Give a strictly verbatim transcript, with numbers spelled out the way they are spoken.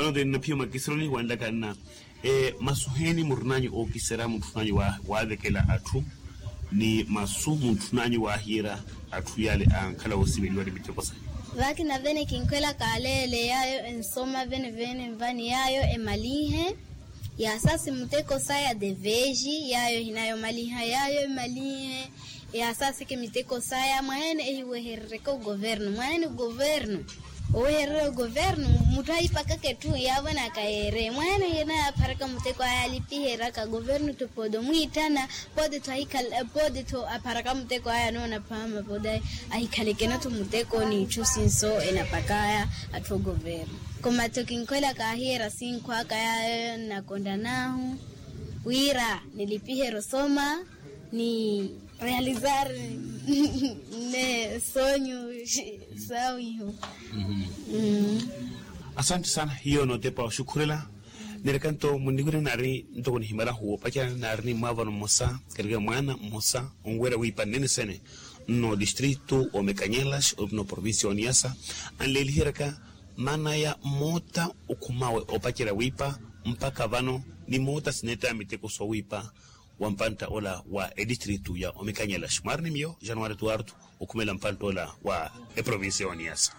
Nothe nnaphiya omakisironi wanlaka nna, masu heeni murinaanyu ookiserya mutthunaanyu waavekela atthu ni masu mutthunaanyu waahiira atthu yaale ankhala woosiveliwa ni miteko saya? Vakina vene kinkhwelaka aleele yaayo ensoma vene vene nvani yaayo emalinhe. Yaasasi muteko saya deveji yaayo ehinayo malinha yaayo emalinhe. Yaasaseke miteko saya mwaheene ehiweherereke ogovernu mwaheene ogovernu. Owehererya ogovernu mutthu ahipakaka etthu yaavonaka yeere mwaheene hinayaapharaka muteko aya alipiheryaka governu tho pooti omwiitthana. Pooti tho ahikhala pooti tho apharaka muteko aya anoona phaama pooti aya ahikhalekene tho muteko n'itthu sinso enapakaya atthu ogovernu. Koma tho kinkhwelaka ahiyeera sinkhu aka yaayo nnakontan'ahu wira nilipiherye osoma ni realizar ne sonyu sawihu. Asante sana hiyo nootepa oxukhurela. Nireka nto munniwira naari ntoko nihimalahu opacerya naari ni mwaavano mmosa katika mwaana mmosa onwerya wiipa nnene sene nno distritu wa mekanyelas opina oprovincia wa niasa anleeliheryaka maana ya moota okhumawe opacerya wiipa mpakha vano ni moota sineettaya miteko sowiipa wa mpantta ola wa edistritu ya omikanyelaxi mwaari ni miyo januari tuwartu okhumela mpantta ola wa eprovincia ya oniasa.